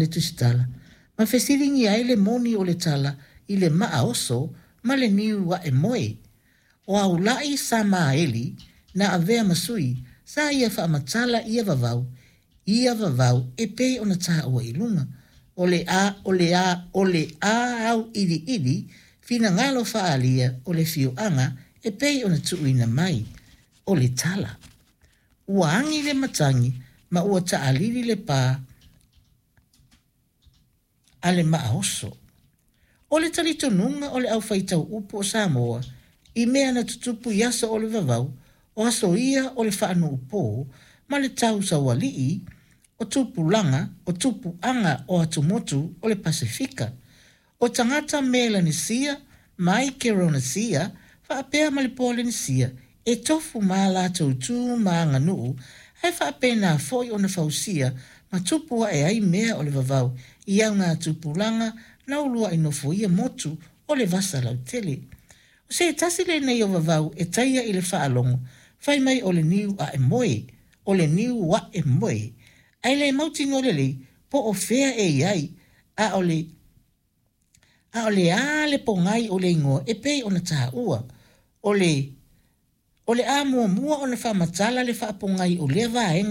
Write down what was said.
le Tusitala ma fesiligia ai le moni o le tala i le maa oso ma le niu ae moe. O Aulai Samaeli na avea ma sui, sa ia faamatala ia vavau, ia vavau e pei ona taua i luga. O le a, o le a, o le a auiliili finagalo faaalia o le afioaga e pei ona tuuina mai. O le tala. Ua agi le matagi ma ua taalili le pa a le maa oso. O le talitonuga o le aufaitau upu o Samoa i mea na tutupu i aso o le vavau, o aso ia o le faanuupo ma le tausaualii o tupulaga o tupuaga o atumotu o le Pasefika. O tagata Melanesia, Maikeronesia faapea ma le Polenisia e tofu ma a latou tu ma aganuu ae faapena foi ona fausia ma tupu ae ai mea o le vavau i augatupulaga na uluai nofoia motu o le vasa lautele. O se tasi lenei o vavau e taia i le faalogo fai mai o le niu ae moe, o le niu ae moe, ae le mautinoa lelei po o fea e i ai, a o le a o le a le pogai o le igoa e pei ona taua. O le o le a muamua ona faamatala le faapogai o lea vaega.